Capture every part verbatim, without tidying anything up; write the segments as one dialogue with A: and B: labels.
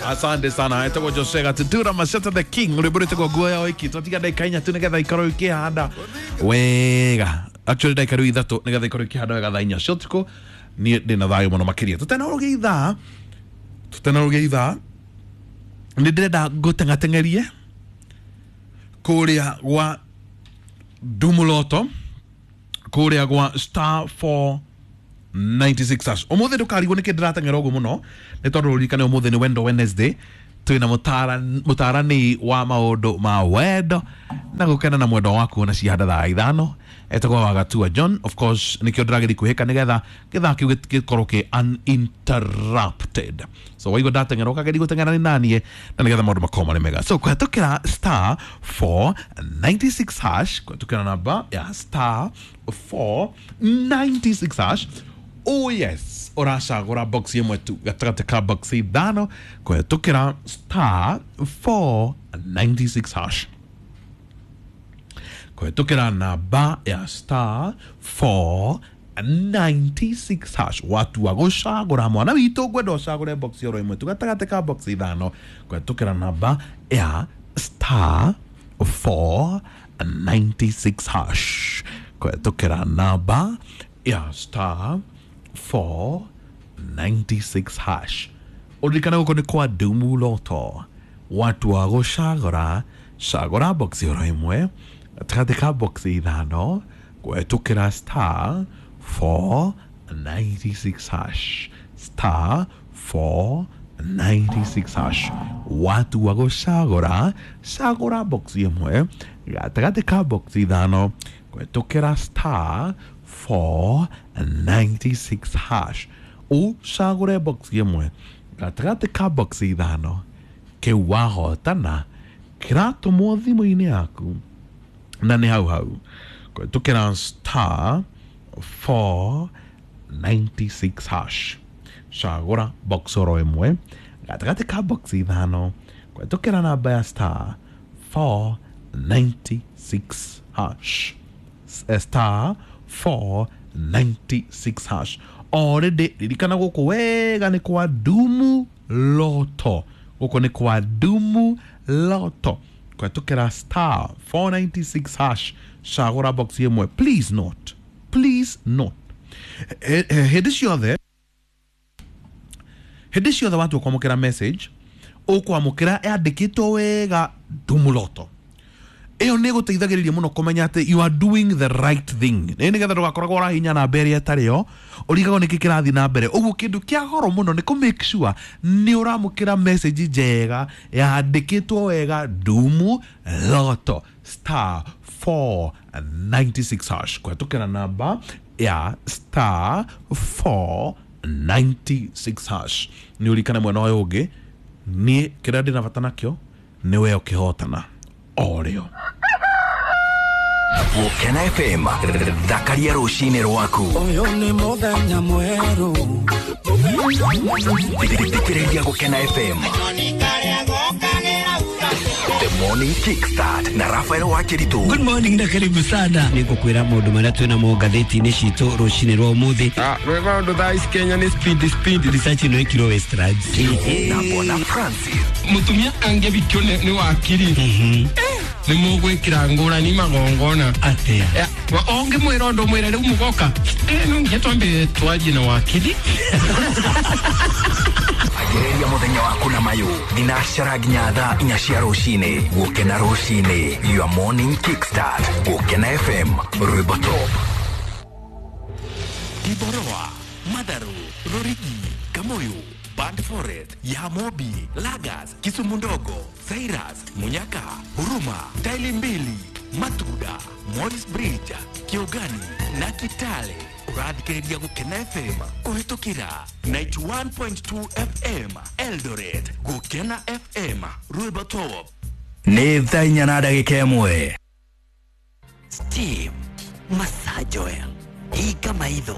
A: Asante sana. Etagwo Jose Gatutura Mashata the King. Rwĩmbo rwĩtagwo nguo ya wiki. Twatiga ndagĩka inya tu nĩgetha ikorwo ikĩhanda wega. Actually ndagĩka rĩu ithatũ nĩgetha ikorwo ikĩhanda wega thaa inya cia ũtukũ. Niĩ ndĩna thayũ mũno makĩria. Tũtanarũgia ithaa, tũtanarũgia ithaa, nĩ ndĩrenda ngũteng'ateng'erie kũrĩa gwa Dumuloto, kũrĩa gwa star four ninety-six hash. Ũmũthĩ ndũkarigwo nĩkĩ ndĩrateng'era ũguo mũno, nĩ tondũ ũririkane ũmũthĩ nĩ Wendo Wednesday. Twĩna mũtarani wa maũndũ ma wendo na gũkena na mwendo waku na cihanda thaa ithano etagwo Wagatua John. Of course nĩkĩo ndĩrageria kwĩhĩka nĩgetha gĩthaa kĩu gĩkorwo kĩ uninterrupted. So waigua ndateng'era ũkageria gũteng'era nĩ naniĩ na nĩgetha maũndũ makorwo marĩ mega. So kũhetũkĩra star four ninety-six hash, kũhetũkĩra namba ya star four ninety-six hash. Oh yes, ũracagũra box ĩmwe tu gatagatĩ ka box ithano kũhetũkĩra star four ninety-six hash. Kũhetũkĩra namba ya star four ninety-six hash. Watua gũcagũra mwana witũ ngwenda ũcagũre box oro ĩmwe tu gatagatĩ ka box ithano kũhetũkĩra namba ya star four ninety-six hash. Kũhetũkĩra namba ya star four ninety-six hash. Ũririkane gũkũ nĩ kwa Dumuloto. Watua gũcagũra cagũra box oro ĩmwe gatagatĩ ka box ithano kũhetũkĩra star four ninety-six hash. Star four ninety-six hash. Watua gũcagũra cagũra box ĩmwe gatagatĩ ka box ithano kũhetũkĩra star four ninety-six hash. Ũcagũre box ĩmwe gatagatĩ ka box ithano kĩu wahotana kĩratũmwo thimũ-inĩ yaku na nĩ hau hau kũhetũkĩra star four ninety-six hash. Cagũra box oro ĩmwe gatagatĩ ka box ithano kũhetũkĩra namba ya star four ninety-six hash. Star four ninety-six hash. Already ririkana gũkũ wega nĩ kwa Dumuloto. Gũkũ nĩ kwa Dumuloto. Kũhetũkĩra star four ninety-six hash. Cagũra box ĩmwe. Please note, please note, hĩndĩ ciothe hĩndĩ ciothe watua kwamũkĩra message ũkwamũkĩra yandĩkĩtwo wega Dumuloto. Ĩyo nĩ ĩgũteithagĩrĩria mũno kũmenya atĩ you are doing the right thing. Nĩ nĩgetha ndũgakoragwo ũrahinya namba ĩrĩa ĩtarĩ yo, ũrigagwo nĩkĩ kĩrathiĩ na mbere. Ũguo kĩndũ kĩa goro mũno nĩ kũ make sure nĩ ũramũkĩra message njega yandĩkĩtwo wega Dumuloto star four ninety-six hash. Kũhetũkĩra namba ya star four ninety-six hash. Nĩ ũririkane mwena ũyũ ũngĩ niĩ kĩrĩa ndĩna bata nakĩo nĩ we ũkĩhotana orĩo.
B: Gũkena F M thakaria rũcinĩ rwaku.
C: Ũyũ nĩ mũthenya mwerũ.
B: Thikĩrĩria Gũkena F M. The Morning Kickstart na Rafael Wakiritu.
D: Good morning na karibu sana. Nĩngũkwĩra maũndũ marĩa twĩna mo ngathĩti-inĩ citũ rũcinĩ rwa ũmũthĩ.
E: Ah, rwĩmbo rũndũ thaa ici Kenya nĩ speed speed.
D: Research ĩno ĩkirwo Westlands.
B: Na Bwana Francis.
E: Mũtumia angĩbikio nĩ wakiri. Nĩ mũgwĩkĩra ngũrani magongona.
D: Atĩa?
E: Ũngĩmwĩra ũndũ mwĩre rĩu mũgoka. Eh, no nginya twambe twarie na wakiri.
B: Agĩrĩria mũthenya waku na mayũ thinacara nginya thaa inya cia rũcinĩ. Gũkena rũcinĩ, your morning kickstart. Gũkena F M, rwĩmbo top. Kiboroa, Matharu, Rorigi, Kamoyo, Band Forest, Yamobi, Lagas, Kisumu Ndogo, Cyrus, Munyaka, Huruma, Taili Mbili, Matuda, Morris Bridge, Kiogani na Kitale. Ũrathikĩrĩria Gũkena F M kũhetũkĩra ninety-one point two F M Eldoret. Gũkena F M, rwĩmbo top. Nĩ thaa inya na ndagĩka ĩmwe.
F: Steam Massage Oil. Hinga maitho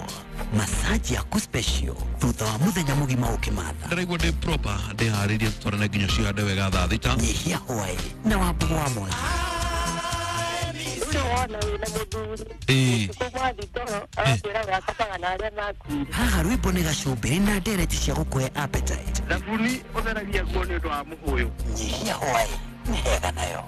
F: massage yaku special thutha wa muthenya mugima ukimatha.
A: Ndĩraigua ndĩ proper ndĩharĩrie tũtwarane nginya cihande wega thaa thita.
F: Nyihia hwaĩ na wambugu wa mwaki.
G: Wona wĩna mũthuri.
A: Ĩĩ.
G: Ũtukũ mwathi toro agakwĩra gakomaga na arĩa makuire.
F: Haha rwĩmbo nĩ gacumbĩrĩ na ndereti cia gũkũhe appetite.
H: Thabuni ũtheragia nguo nĩ ũndũ wa mũhũyũ.
F: Nyihia hwaĩ nĩ hega nayo.